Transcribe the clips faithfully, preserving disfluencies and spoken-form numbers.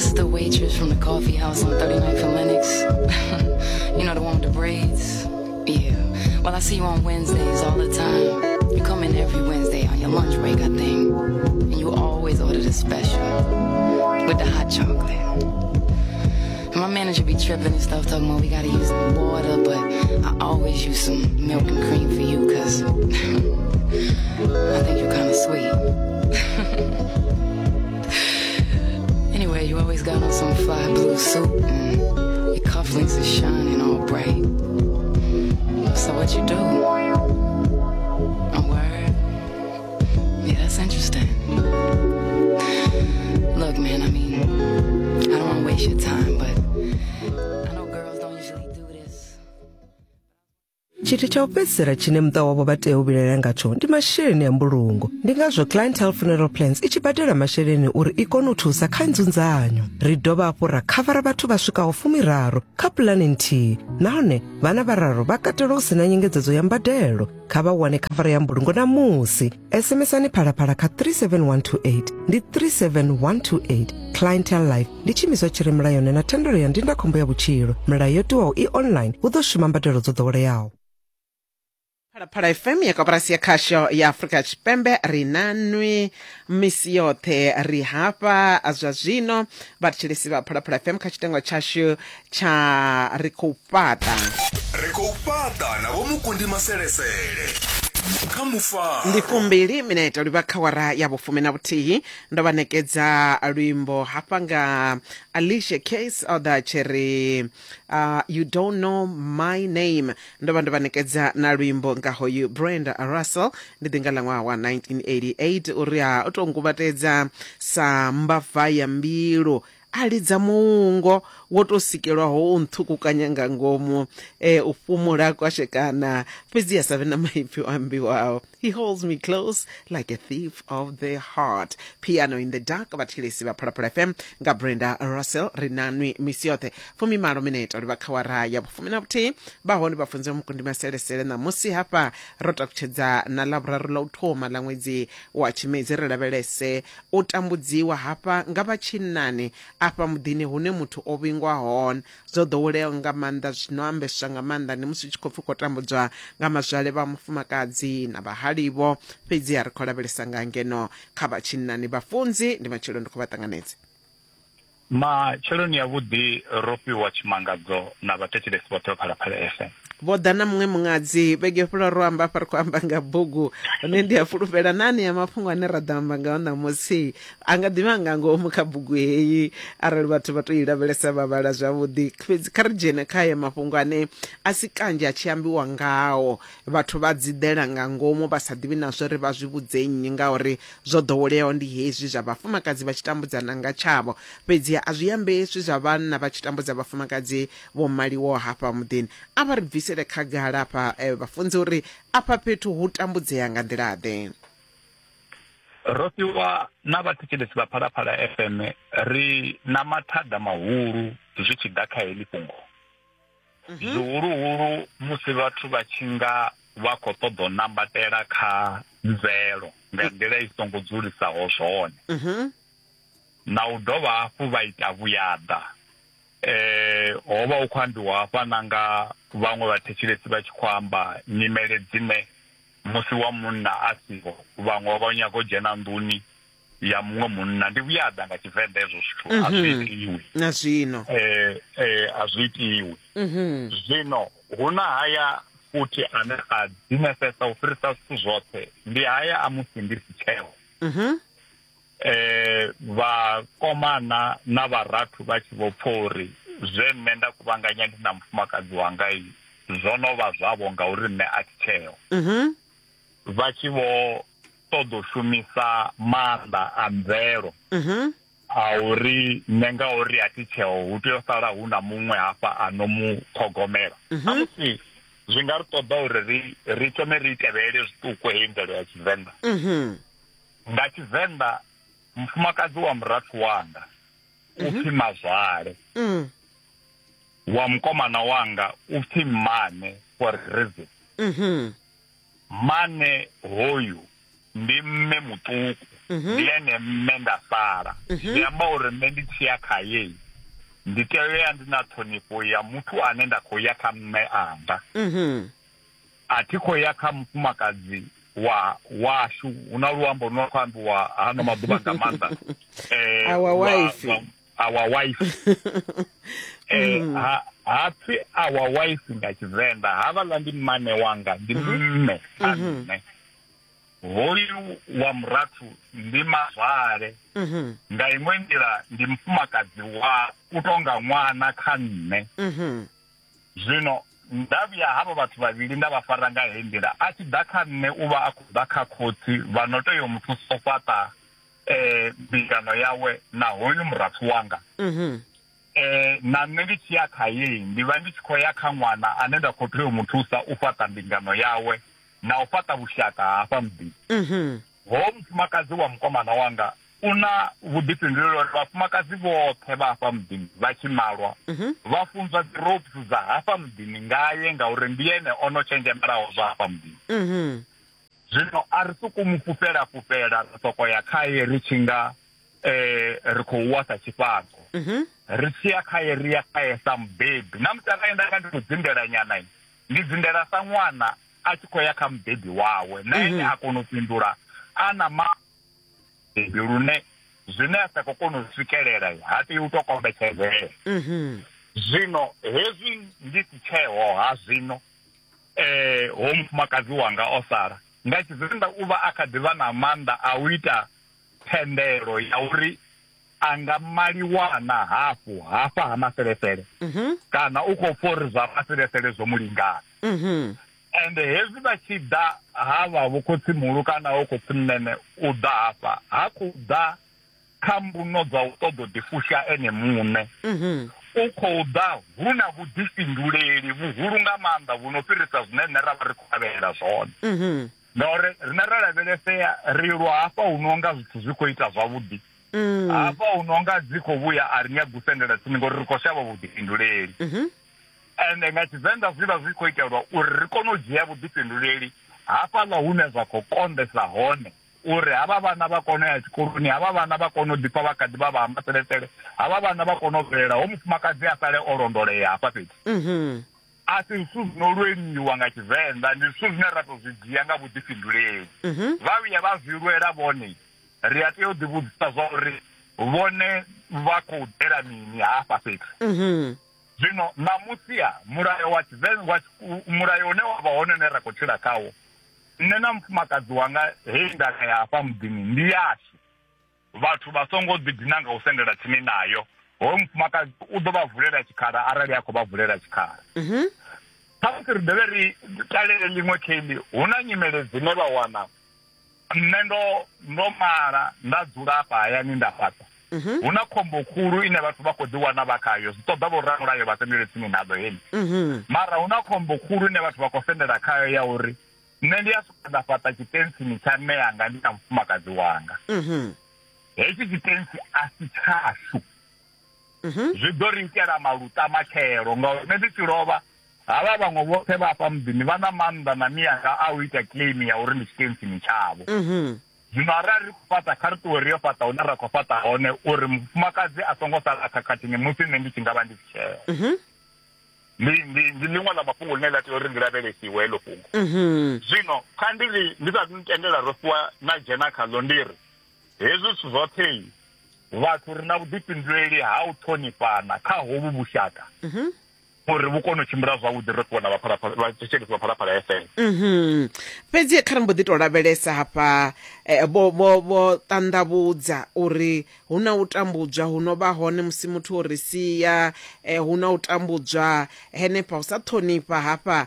This is the waitress from the coffee house on thirty-ninth and Lenox. You know, the one with the braids? Yeah. Well, I see you on Wednesdays all the time. You come in every Wednesday on your lunch break, I think. And you always order the special with the hot chocolate. And my manager be tripping and stuff, talking about we gotta use water, but I always use some milk and cream for you, because I think you're kind of sweet. Anyway, you always got on some fly blue suit, and your cufflinks are shining all bright. So what you do? A word? Yeah, that's interesting. Look, man, I mean, I don't want to waste your time, but I know girls don't usually do this. Tshithu tsha u fhedzisela tshine muṱa wavho vha tea u vhilaela ngatsho ndi masheleni a mbulungo. Ndi ngazwo Clientele Funeral Plans i tshi badela masheleni uri i kone u thusa kha nzunzanyo. Ri dovha hafhu ra khavara vhathu vha swikaho fumiraru kha pulani nthihi, nahone vhana vhararu vha katelwa hu sina nyengedzedzo ya mbadelo. Kha vha wane khavara ya mbulungo namusi. SMSani Phalaphala kha three seven one two eight, ndi three seven one two eight. Clientele Life ndi tshiimiswa tshi re mulayoni na thendelo ya ndindakhombo ya vhutshilo. Milayo yo tiwaho i online, hu ḓo shuma mbadelo dzo ḓoweleaho. Phalaphala F M ya koporasi ya khasho ya Afrika Tshipembe, ri na nwi misi yoṱhe, ri hafha zwa zwino vhathetshelesi vha Phalaphala F M kha tshitengo tshashu tsha ri khou fhaṱa. Ri khou fhaṱa na Vho Mukundi Maselesele kha mufaro. Ndi fumbili minete livha kha wara ya vhufumi na vhuthihi. Ndo vha nekedza luimbo hafha nga Alicia Keys o ḓa tshiri uh, You Don't Know My Name. Ndo vha ndo vha nekedza na luimbo nga hoyu Brenda Russell, ndi ḓinga ḽa ṅwaha wa nineteen eighty-eight, uri a o tou nguvhatedza sa mbava ya mbilu, a lidza muungo wo tou sikelwaho u nṱhukukanya nga ngomu, eh, u fhumula kwashekana, fhedzi a sa vhe na maipfi o ambiwaho. He holds me close like a thief of the heart. Piano in the Dark, vhathetshelesi vha Phalaphala F M nga Brenda Russell. Ri na nwi misi yoṱhe fumimalo minete livha kha wara ya vhufumi na vhuthihi. Vha hone vhafunzi vha Mukundi Maselesele ṋamusi hafha ro takutshedza na ḽavhuraru ḽa u thoma ḽa ṅwedzi wa Tshimedzi. Ri lavhelese u tambudziwa hafha nga vha tshinnani afha muḓini hune muthu o vhingwa hone. Zwo ḓoweleaho nga maanḓa, zwino ambeswa nga maanḓa ndi musi u tshi khou pfi khou tambudzwa nga mazwale vha mufumakadzi na vhahalivo, fhedzi a ri khou lavhelesa nga ngeno kha vha tshinnani. Vhafunzi, ndi matshelo, ndi khou vha ṱanganedza. Matsheloni ya vhuḓi, ro fhiwa tshimangadzo na vhathetshelesi vhoṱhe vha Phalaphala F M. Vho ḓa na muṅwe muṅadzi vhege fhela ro amba afha ri khou amba nga bugu, hone ndi a fulufhela nani ya mafhungo ane ra ḓo amba ngao ṋamusi a nga ḓivha nga ngomu kha bugu heyi arali vhathu vha tou i lavhelesa vha vhala zwavhuḓi. Fhedzi kha ri dzhene kha haya mafhungo ane a si kanzhi a tshi ambiwa ngao, vhathu vha dzi ḓela nga ngomu vha sa ḓivhi na zwo ri vha zwi vhudze nnyi, ngauri zwo ḓoweleaho ndi hezwi zwa vhafumakadzi vha tshi tambudzana nga tshavho, fhedzi a zwi ambeswi zwa vhanna vha tshi tambudza vhafumakadzi vho maliwaho hafha muḓini. A vha ri bvisele khagala hafha eh, vhafunzi uri afha fhethu hu tambudzea nga nḓila-ḓe. Ro fhiwa na vhathetshelesi vha Phalaphala F M, ri na mathada mahulu zwi tshi ḓa kha heḽi fhungo. Zwihuluhulu musi vhathu vha tshi nga vha khou ṱoḓa u nambatela kha mvelo nga nḓila i songo dzulisaho zwone, na u dovha hafhu vha ita vhuyaḓa. Eh, ho vha hu khou ambiwa hafha na nga vhaṅwe vhathetshelesi vha tshi khou amba nyimele dzine musi wa munna a siho vhaṅwe vha nyaga u dzhena nḓuni ya muṅwe munna. Ndi vhuyaḓa nga Tshivenḓa hezwo zwithu, a zwi itiwi na zwino. Eh, eh, a zwi itiwi. Zwino hu na haya futhi ane a dinefesa u fhirisa zwithu zwoṱhe, ndi haya a musi ndi si tsheo. Eh, vhakomana na vharathu vha tshi vho pfa uri zwe nṋe nda kuvhanganya ndi na mufumakadzi wanga zwo no vha zwavho ngauri nṋe a thi tsheo, vha tshi vho ṱoḓa u shumisa maanḓa a mvelo a uri nṋe ngauri a thi tsheo hu tea u sala hu na muṅwe hafha a no mu ṱhogomela. Musi zwi nga ri ṱoḓa uri ri ri thome ri tevhelele zwiṱuku heyi mvelo ya Tshivenḓa. Nga Tshivenḓa mufumakadzi wa murathu wanga u pfi mazwale, wa mukomana wanga u pfi mmane for reason. Mane hoyu ndi mme muṱuku. Ndi ene mme nda sala. Zwi amba uri nṋe ndi tshi ya khaye ndi tea u ya ndi na ṱhonifho ya muthu ane nda khou ya kha mme anga. A thi khou ya kha mufumakadzi wa washu. Hu na luambo lu no khou ambiwa hano maḓuvha nga maanḓa. Eh, Our wife. Our wife. Eh, ha ha pfi our wife nga Tshivenḓa, havhaḽa ndi mmane wanga, ndi mme a nṋe. Hoyu wa murathu ndi mazwale. Nga iṅwe nḓila ndi mufumakadzi wa u tonga ṅwana kha nṋe. Zwino nda vhuya havha vhathu vhavhili nda vha fara nga heyi nḓila, a tshi ḓa kha nṋe u vha a khou ḓa kha khotsi vha no tea u mu thusa u fhaṱa eh mbingano yawe na hoyu murathu wanga. Eh na nṋe ndi tshi ya kha ye ndi vha ndi tshi khou ya kha ṅwana ane nda khou tea u mu thusa u fhaṱa mbingano yawe na u fhaṱa vhushaka hafha muḓini. Ho mufumakadzi wa mukomana wanga u na vhuḓifhinduleli uri vhafumakadzi vhoṱhe vha hafha muḓini vha tshi malwa vha funzwa dzi ropes dza hafha muḓini ngaye, ngauri ndi ene ono tshenzhemelaho zwa hafha muḓini. Zwino a ri sokou mu fhufhela fhufhela ra soko ya khaye ri tshi nga eh ri khou wa sa tshifhaṱo. Ri tshi ya khaye ri ya khaye sa mubebi. Na musi arali nda nga ndi khou dzindela nyana, ndi dzindela sa ṅwana a tshi khou ya kha mubebi wawe, na ene a kona u fhindula a na mabebi lune zwine a sa khou kona u swikelela ha tei u tou kombetshedzea. Zwino hezwi ndi si tsheo ha zwino eh ho mufumakadzi wanga o sala nga Tshivenḓa u vha a kha ḓi vha na maanḓa a u ita thendelo ya uri a nga maliwana hafhu hafha ha maselesele, kana u khou pfa uri zwa maselesele zwo mulingana. Ende hezwi vha tshi ḓa havha vho khotsimuhulu kana ho khotsimunene u ḓa hafha ha khou ḓa kha mbuno dza u ṱoḓa u ḓifusha ene muṋe. U khou ḓa hu na vhuḓifhinduleli vhuhulu nga maanḓa vhu no fhirisa zwine nṋe ra vha ri khou lavhelela zwone. Ngauri rine ra lavhelesea ri lwa hafha hu no nga zwithu zwi khou ita zwavhuḓi, hafha hu no nga dzi khou vhuya a ri nyagi u sendela tsini ngori ri khou shavha vhuḓifhinduleli. Ende nga Tshivenḓa zwi vha zwi khou itelwa uri ri kone u dzhia vhuḓifhinduleli hafhaḽa hune zwa khou konḓesa hone, uri havha vhana vha kone u ya tshikoloni, havha vhana vha kone u ḓipfa vha kha ḓi vha vha maselesele, havha vhana vha kone u bvelela, ho mufumakadzi a sale o londolea hafha fhethu. A si zwithu zwi no lweliwa nga Tshivenḓa, ndi zwithu zwine ra tou zwi dzhia nga vhuḓifhinduleli. Vha vhuya vha zwi lwela vhone, ri a tea u ḓivhudzisa zwa uri vhone vha khou ḓela mini hafha fhethu. Zwino ṋamusi mulayo wa Tshivenḓa, mulayo une wa vha hone une ra khou tshila khawo, nṋe na mufumakadzi wanga heyi ndaka ya hafha muḓini ndi yashu. Vhathu vha songo ḓidina nga u sendela tsini nayo. Hoyo mufumakadzi u ḓo vha vulela tshikhala arali a khou vha vulela tshikhala. Khamusi ri dovhe ri talele ḽiṅwe kheili, hu na nyimele dzine vha wana nṋe ndo ndo mala nda dzula hafha hayani nda fhaṱa. Hu na khombo khulu ine vhathu vha khou ḓi wana vha khayo, zwi ṱoḓa vho ramulayo vha sendele tsini naḓo heḽi. Mara hu na khombo khulu ine vhathu vha khou sendela khayo ya uri nṋe ndi a swika nda fhaṱa tshitentsini tsha mme anga ndi na mufumakadzi wanga. Hetshi tshitentsi a si tshashu. Zwi ḓo ri itela maluta matshelo, ngauri nṋe ndi tshi lovha havha vhaṅwe vhoṱhe vha hafha muḓini vha na maanḓa na miyanga a u ita claim ya uri ndi tshitentsini tshavho. Zwino arali ri khou fhaṱa, kha ri ṱuwe ri yo fhaṱa hune ra khou fhaṱa hone, uri mufumakadzi a songo sala khakhathini musi nṋe ndi tshi nga vha ndi si tsheo. Ndi ndi ndi ḽiṅwe ḽa mafhungo ḽine ḽa tea uri ndi lavhelesiwe heḽo fhungo. Zwino kha ndi ri ndi sa tendela ro fhiwa na dzhena khaḽo, ndi ri hezwi zwithu zwoṱhe vhathu ri na vhuḓifhinduleli ha u ṱhonifhana kha hovhu vhushaka uri vhu kone u tshimbila zwavhuḓi, ro fhiwa na vhathetshelesi vha Phalaphala F M. Fhedzi kha ri mbo ḓi tou lavhelesa hafha vho vho vho ṱanḓavhudza uri hu na u tambudzwa hu no vha hone musi muthu o ri sia, hu na u tambudzwa henefha u sa ṱhonifha hafha.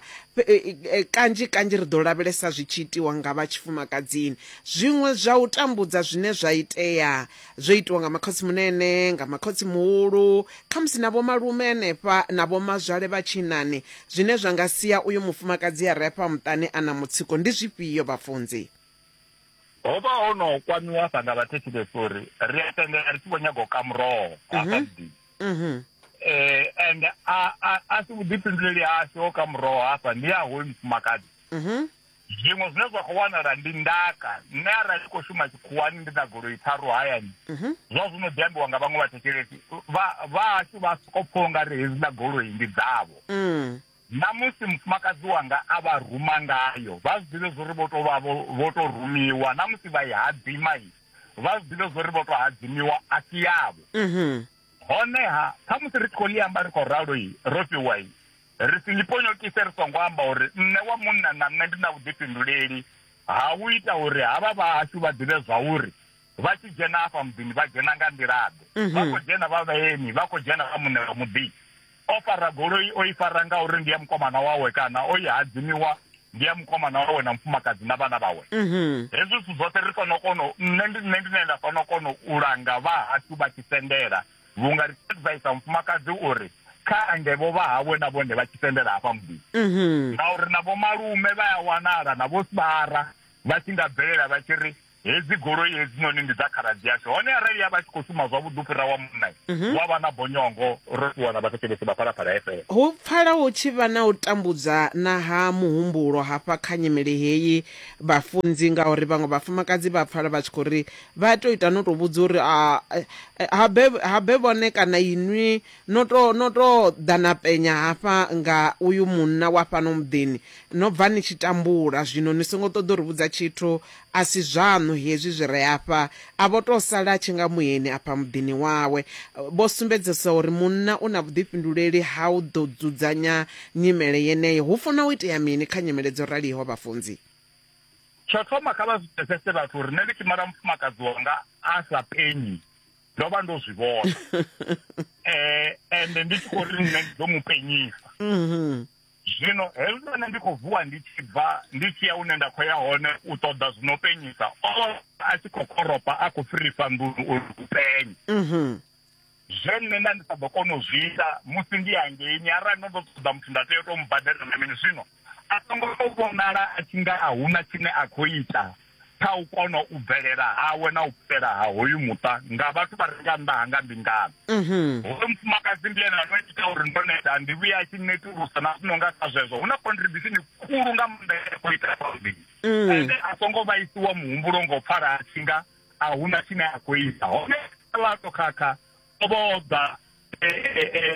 Kanzhi kanzhi ri ḓo lavhelesa zwi tshi itiwa nga vha tshifumakadzini. Zwiṅwe zwa u tambudza zwine zwa itea zwo itiwa nga makhotsimunene, nga makhotsimuhulu, khamusi na vho malume henefha na vho mazwale vha tshinani, zwine zwa nga sia uyu mufumakadzi a re afha muṱani a na mutsiko ndi zwifhio vhafunzi? Ho vha ho no kwamiwa hafha nga vhathetshelesi uri ri a tendela ri tshi vho nyaga u ka muroho hafha muḓini. Eh and a a a si vhuḓifhinduleli hashu ho ka muroho hafha, ndi ya hoyu mufumakadzi. Zwiṅwe zwine zwa khou wanala ndi ndaka. Nṋe arali khou shuma tshikhuwani ndi na goloi tharu hayani, zwa zwino ḓi ambiwa nga vhaṅwe vhathetshelesi vha vhashu vha soko pfha ungari hedziḽa goloi ndi dzavho. Na musi mufumakadzi wanga a vha ruma ngayo, vha zwi ḓivhe zwori vho to vha vho to rumiwa. Na musi vha i hadzima, vha zwi ḓivhe zwori vho to hadzimiwa, a si yavho. Honeha khamusi ri tshi khou ḽi amba ri khou ralo ro fhiwa, ri si ḽi ponyokise ri songo amba uri nṋe wa munna na nṋe ndi na vhuḓifhinduleli ha u ita uri havha vhahashu vha ḓivhe zwa uri vha tshi dzhena afha muḓini vha dzhena nga nḓila-ḓe. Vha khou dzhena vha vhaeni, vha khou dzhena vha muṋe wa muḓi. O fara goloi o i fara ngauri ndi ya mukomana wawe, kana o i hadzimiwa ndi ya mukomana wawe na mufumakadzi na vhana vhawe. Hezwi zwithu zwoṱhe ri fanela u kona, nṋe ndi nṋe ndine nda fanela u kona u langa vhahashu vha tshi sendela, vhunga ri tshi advisa mufumakadzi uri kha angevho vha hawe na vhone vha tshi sendela hafha muḓini. Ngauri na vho malume vha ya wanala na vho sibara vha tshi nga bvelela vha tshi ri hedzi goloi hedzinoni ndi dza khaladzi yashu. Hone arali ya vha tshi khou shuma zwavhuḓi u fhira wa munna, wa vha na bonyongo ro fhiwa na vhathetshelesi vha Phalaphala F M. Hu pfala hu tshi vha na u tambudza na ha muhumbulo hafha kha nyimele heyi vhafunzi, ngauri vhaṅwe vhafumakadzi vha pfala vha tshi khou ri vha tou ita no tou vhudza uri habe habe vhone kana inwi no to no to ḓa na penya hafha nga uyu munna wa fhano muḓini, no bva ni tshi tambula, zwino ni songo ṱoḓa uri vhudza tshithu, a si zwaṋu hezwi zwi re afha. A vho tou sala a tshi nga muyeni afha muḓini wawe. Vho sumbedzisa uri munna u na vhuḓifhinduleli ha u ḓo dzudzanya nyimele yeneyo. Hu funa u itea mini kha nyimele dzo raliho vhafunzi? Tsho thoma kha vha zwi pfesese vhathu uri nṋe ndi tshi mala mufumakadzi wanga a sa penyi, ndo vha ndo zwi vhona. Eh, ende ndi tshi khou ri nṋe ndi ḓo mu penyisa. Zwino hezwi nṋe ndi khou vuwa ndi tshi bva ndi tshi ya hune nda khou ya hone u ṱoḓa zwino penyisa, o a tshi khou koropa a khou fhirisa nḓuni uri u penye. Zwe nṋe nda ndi sa ḓo kona u zwi ita musi ndi hangeini, arali ndo ḓo ṱoḓa muthu nda tea u tou mubadela na mini. Zwino a songo tou vhonala a tshi nga a huna tshine a khou ita kha u kona u bvelela hawe na u fhela ha hoyu muṱa nga vhathu vha re nga nnḓa ha nga mbingano. Hoyu mufumakadzi ndi ene ano ita uri ndo neta, ndi vhuya a tshi netulusa na zwino nga kha zwezwo hu na contribution khulu nga maanḓa ya khou ita muḓini. Ende a songo vhaisiwa muhumbulo ngo pfala a tshi nga a huna tshine a khou ita. Hone ḽa to khakha o vho ḓa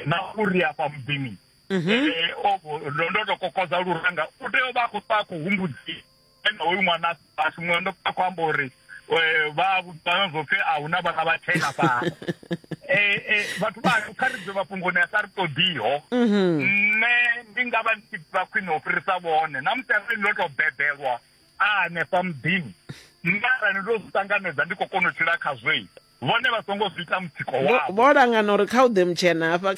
na uri afha muḓini ndo to kokodza luranga, u tea u vha a khou ṱwa a khou humbudziwa ene hoyu ṅwana ashu. Muṅwe ndo pfa khou amba uri vha vhudzana zwo pfhi a huna vhana vha tshena fhano. Vhathu vha kha ri bve mafhungoni a sa ri ṱoḓiho. Nṋe ndi nga vha ndi tshi ḓivha khwine u fhirisa vhone, na musi arali ndo tou bebelwa a hanefha muḓini, nṋe arali ndo zwi ṱanganedza ndi khou kona u tshila khazwo, vhone vha songo zwi ita mutsiko wavho. Vho langana uri kha u ḓe mutshena hafha.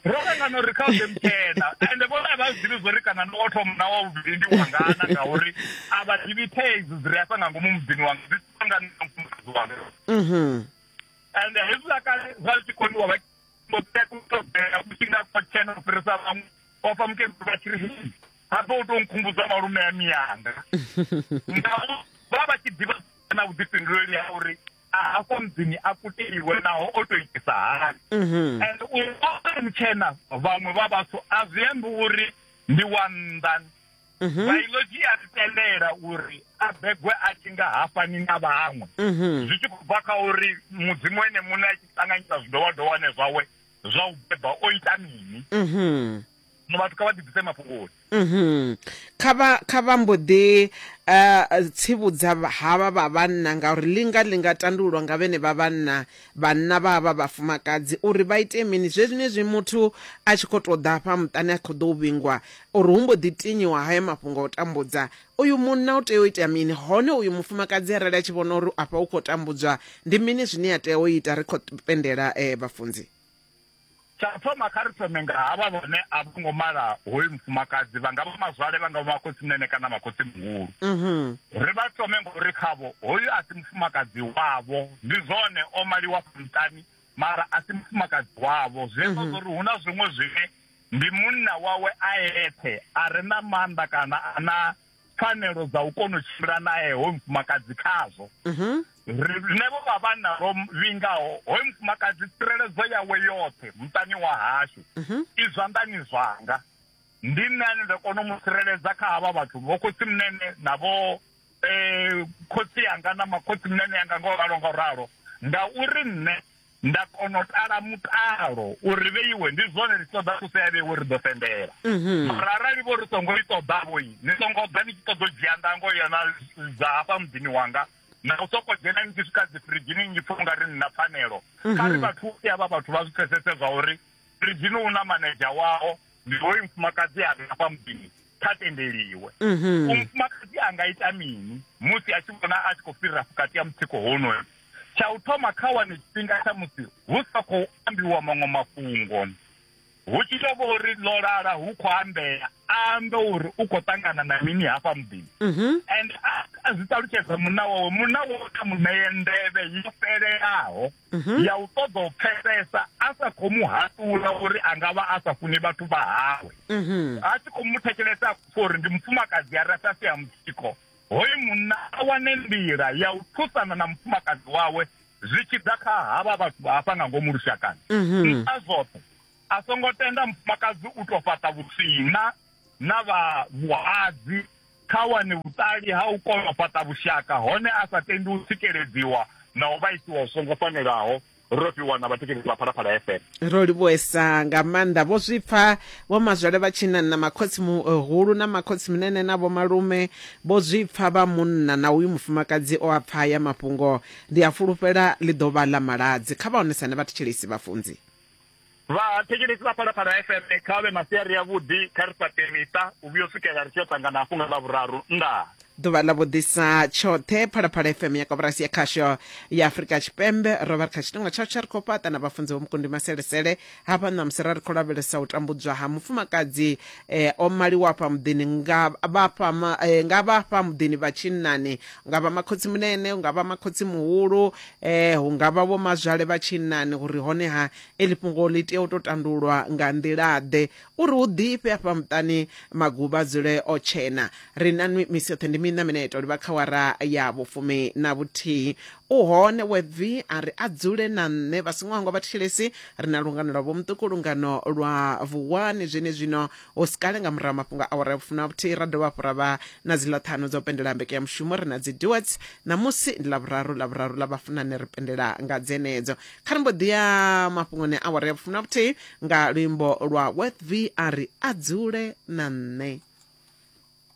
Ro langana uri kha u ḓe mutshena, ende vhone a vha zwi ḓivhi zwori kana ndi wa thoma na wa vhuvhili ndi wangana, ngauri a vha ḓivhi thaidzo dzi re afha nga ngomu muḓini wanga dzi ṱangana na mufumakadzi wanga. Ende hezwiḽa kale zwa zwi tshi koniwa vha mbo ḓi nga tshena u fhirisa vhaṅwe, o fa mukegulu vha tshi ri habe u tou nkhumbudza malume a miyanga. Ngauri vha vha tshi ḓivha na vhuḓifhinduleli ha uri a hafho muḓini a kuteliwe naho o tou itisa hani. And u mutshena vhaṅwe vha vhathu a zwi ambi uri ndi wa nnḓa. Biology ya ri tendela uri a begwe a tshi nga hafani na vhaṅwe, zwi tshi khou bva kha uri mudzimu ene muṋe a tshi ṱanganyisa zwidowadowane zwawe zwa u beba o ita mini. Vhathu kha vha ḓibvise mafhungoni. Kha vha kha vha mbo ḓi tsivhudza havha vha vhanna, ngauri linga linga tandululwa nga vhene vha vhanna, vhanna vha vha vhafumakadzi, uri vha ite mini zwenezwi muthu a tshi khou tou ḓa hafha muṱani a khou ḓo vhingwa, uri hu mbo ḓi tinyiwa haya mafhungo a u tambudza uyu munna u tea u ita mini. Hone uyu mufumakadzi arali a tshi vhona uri afha u khou tambudzwa, ndi mini zwine a tea u ita? Ri khou pendela vhafunzi. Tsha thoma kha ri thome nga havha vhone a vho ngo mala hoyu mufumakadzi, vha nga vha mazwale, vha nga vha makhotsi-munene kana makhotsi muhulu. Ri vha thome ngori khavho hoyu a si mufumakadzi wavho, ndi zwone o maliwa muṱani mara a si mufumakadzi wavho. Zwi amba uri hu na zwiṅwe zwine ndi munna wawe a eṱhe a re na maanḓa kana a na pfanelo dza u kona u tshimbila nae hoyu mufumakadzi khazwo. Riṋe vho vha vhanna ro vhingaho hoyu mufumakadzi, tsireledzo yawe yoṱhe muṱani wa hashu i zwanḓani zwanga. Ndi nṋe ane nda kona u mu tsireledza kha havha vhathu vho khotsi munene na vho eh khotsi yanga na makhotsi munene yanga ngo ralo ngo ralo, ngauri nṋe nda kona u tala mutalo uri vheiwe ndi zwone ri ṱoḓa thuso ya vheiwe ri ḓo sendela. Mara arali vho ri songo i ṱoḓa vhoi ni songo ḓa ni tshi ṱoḓa u dzhia ndango ya na dza hafha muḓini wanga na u soko dzhena ni tshi swika dzi firidzhini ni pfha ungari ni na pfanelo. Kha ri vhathu ya vha vhathu vha zwi pfesese zwa uri firidzhini u na manedzha wao, ndi hoyu mufumakadzi a re hafha muḓini kha tendeliwe. U mufumakadzi a nga ita mini musi a tshi vhona a tshi khou fhirira vhukati ha mutsiko honoyo? Tsha u thoma kha wane tshifhinga tsha musi hu sa khou ambiwa maṅwe mafhungo, hu tshi tou vha uri ḽo lala hu khou ambea, a ambe uri u khou ṱangana na mini hafha muḓini. And a zwi ṱalutshedza munna wawe, munna wawe kha mu ṋee nḓevhe yo fhelelaho ya u ṱoḓa u pfesesa, a sa khou mu haṱula uri a nga vha a sa funi vhathu vha hawe. A tshi khou mu thetshelesa uri ndi mufumakadzi a re fhasi ha mutsiko, hoyu munna a wane nḓila ya u thusana na mufumakadzi wawe zwi tshi ḓa kha havha vhathu vha hafha nga ngomu lushakani. Nṱha zwoṱhe a songo tenda mufumakadzi u tou fhaṱa vhusina na vha vhuhadzi, kha wane vhuṱali ha u kona u fhaṱa vhushaka hone a sa tendi u tsikeledziwa na u vhaisiwa hu songo fanelaho. Ro fhiwa na vhathetshelesi vha Phalaphala F M. Ro livhuwesa nga maanḓa. Vho zwi pfa vho mazwale vha tshinani na makhotsi muhulu na makhotsi munene na vho malume, vho zwi pfa vha munna na uyu mufumakadzi o a pfa ya mafhungo. Ndi a fulufhela ḽi ḓo vha ḽa maladzi. Kha vha onesane vhathetshelesi vhafunzi. Vhathetshelesi vha Phalaphala F M kha vhe masiari avhuḓi, kha ri fhaṱe miṱa u vhuya u swikela ri tshi yo ṱangana hafhu nga Ḽavhuraru. Ndaa. Ḓuvha ḽa vhuḓisa tshoṱhe. Phalaphala F M ya koporasi ya khasho ya Afrika Tshipembe. Ro vha ri kha tshifhinga tsha tsha ri khou fhaṱa na vhafunzi vho Mukundi Maselesele hafha ṋamusi ra ri khou lavhelesa u tambudzwa ha mufumakadzi eh, o maliwa afha muḓini nga vhafha eh, nga vhafha muḓini vha tshinnani, nga vha makhotsi munene, nga vha makhotsi muhulu, eh, hu nga vha vho mazwale vha tshinnani, uri hone ha eḽi fhungo ḽi tea u tou tandulwa nga nḓila ḓe uri hu ḓifhe afha muṱani maguvha dzule o tshena. Ri na nwi misi yoṱhe ndi mina minete livha kha wara ya vhufumi na vhuthihi. U hone webvi a ri a dzule na nṋe vha songo hangwa vhathetshelesi, ri na lungano lwa vhomuṱuku, lungano lwa vuwani zwene zwino hu si kale nga murahu mafhungo a awara ya vhufumi na vhuthihi ra dovha hafhu ra vha na dziḽa ṱhanu dza u pendela mbeke ya mushumo. Ri na dzi duets ṋamusi ndi ḽavhuraru, ḽavhuraru ḽa vhafunani ri pendela nga dzenedzo. Kha ri mbo ḓi ya mafhungoni a awara ya vhufumi na vhuthihi nga luimbo lwa webvi a ri a dzule na nṋe.